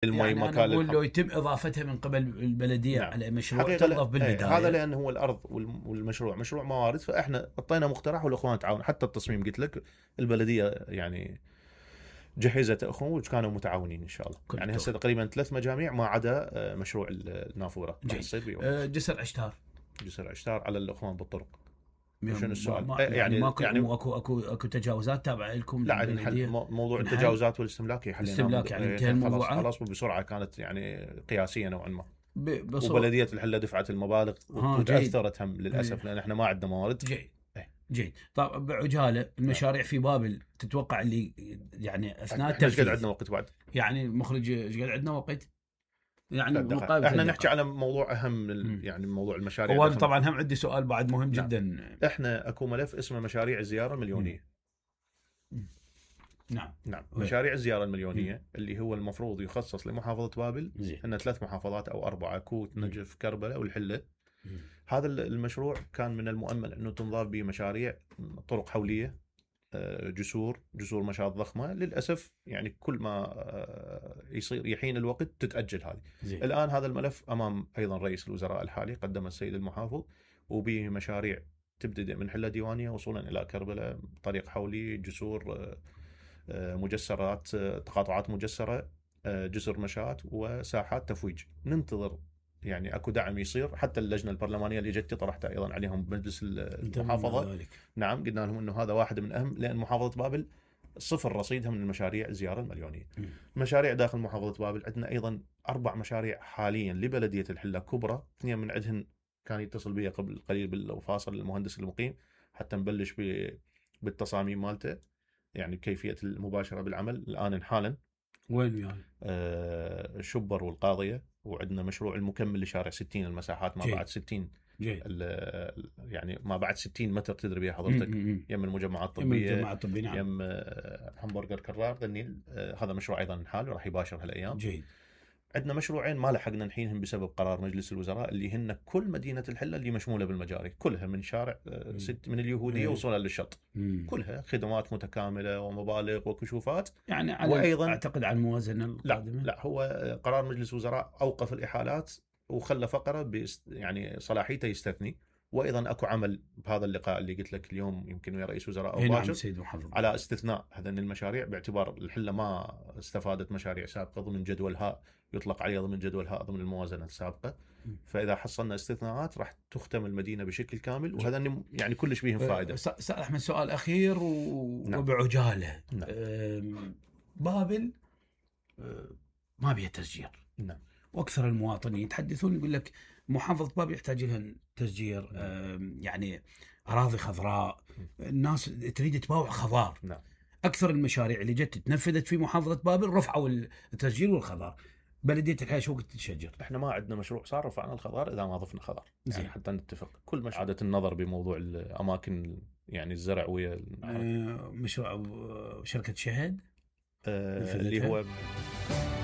المي يعني مكان أنا أقول للحظر. لو يتم إضافتها من قبل البلدية نعم. على مشروع حقيقة تنظف بالبداية. هذا لأن هو الأرض والمشروع مشروع موارد، فإحنا أعطينا مقترح والأخوان تعاون. حتى التصميم قلت لك البلدية يعني جهزت أخوان وكانوا متعاونين إن شاء الله. يعني هسه تقريبا 3 مجاميع ما عدا مشروع النافورة. جسر عشتار. جسر عشتار على الأخوان بالطرق. شنو السؤال؟ يعني ماكو يعني اكو تجاوزات تابعه لكم؟ لا عندنا موضوع التجاوزات والاستملاكي حليناه يعني انتهى الموضوع خلاص وبسرعه، كانت يعني قياسيه نوعا ما. وبلديه الحله دفعت المبالغ وتاثرت هم للاسف لان احنا ما عندنا موارد. جيد. طب بعجاله المشاريع في بابل تتوقع اللي يعني اثناء التنفيذ ايش قد عندنا وقت بعد؟ يعني المخرج ايش قد عندنا وقت؟ يعني مقابل احنا نحكي على موضوع اهم يعني موضوع المشاريع. وأنا طبعا هم عندي سؤال بعد مهم جدا. احنا اكو ملف اسمه مشاريع الزياره المليونيه. نعم. مشاريع الزياره المليونيه اللي هو المفروض يخصص لمحافظه بابل. ان 3 محافظات او 4: كوت، نجف، كربلاء والحله. هذا المشروع كان من المؤمل انه تنضاف به مشاريع طرق حوليه، جسور مشاة ضخمه. للاسف يعني كل ما يصير يحين الوقت تتاجل هذه. الان هذا الملف امام ايضا رئيس الوزراء الحالي، قدم السيد المحافظ، وبه مشاريع تبتدئ من حله ديوانيه وصولا الى كربلاء، طريق حولي، جسور، مجسرات، تقاطعات مجسره، جسر مشاة وساحات تفويج. ننتظر يعني اكو دعم يصير. حتى اللجنه البرلمانيه اللي جت طرحت ايضا عليهم بمجلس المحافظه. نعم، قلنا لهم انه هذا واحد من اهم، لان محافظه بابل صفر رصيدها من المشاريع الزياره المليونيه. مشاريع داخل محافظه بابل عندنا ايضا 4 مشاريع حاليا لبلديه الحله كبرى. 2 من عندهن كان يتصل بي قبل قليل بالفاصل المهندس المقيم حتى نبلش بالتصاميم مالته، يعني كيفيه المباشره بالعمل الان حالا. وين يعني؟ شبر والقاضيه. وعندنا مشروع المكمل لشارع 60 المساحات ما بعد 60. يعني ما بعد 60 متر تدري بها حضرتك. يم المجمعات الطبيه، نعم. يم همبرجر كرار ذني. هذا مشروع ايضا حال راح يباشر هالايام. جيد. عندنا مشروعين ما لحقنا نحينهم بسبب قرار مجلس الوزراء، اللي هن كل مدينه الحله اللي مشموله بالمجاري كلها، من شارع 6 من اليهوديه وصولا للشط. كلها خدمات متكامله ومبالغ وكشوفات. يعني على وايضا اعتقد على الموازنه القادمه. لا هو قرار مجلس الوزراء اوقف الاحالات وخلى فقره يعني صلاحيته يستثني. وايضا اكو عمل بهذا اللقاء اللي قلت لك اليوم يمكن ويا رئيس وزراء او باشر على استثناء هذين المشاريع، باعتبار الحله ما استفادت مشاريع سابقه ضمن جدولها، يطلق عليها ضمن جدولها ضمن الموازنه السابقه. فاذا حصلنا استثناءات راح تختم المدينه بشكل كامل، وهذا يعني كلش بيهم فائده. استاذ احمد سؤال اخير وبعجاله. بابل ما بيها تسجير. نعم. واكثر المواطنين يتحدثون يقول لك محافظه بابل يحتاج لها تسجير. يعني اراضي خضراء، الناس تريد تباوع خضار. نعم. اكثر المشاريع اللي جت تنفذت في محافظه بابل رفعوا التسجير والخضار. بلديه الحياه شو قلت تشجر؟ احنا ما عندنا مشروع صار رفعنا الخضار اذا ما ضفنا خضار. يعني حتى نتفق كل عاده النظر بموضوع الاماكن يعني الزرع ويا مشروع شركه شهد اللي هو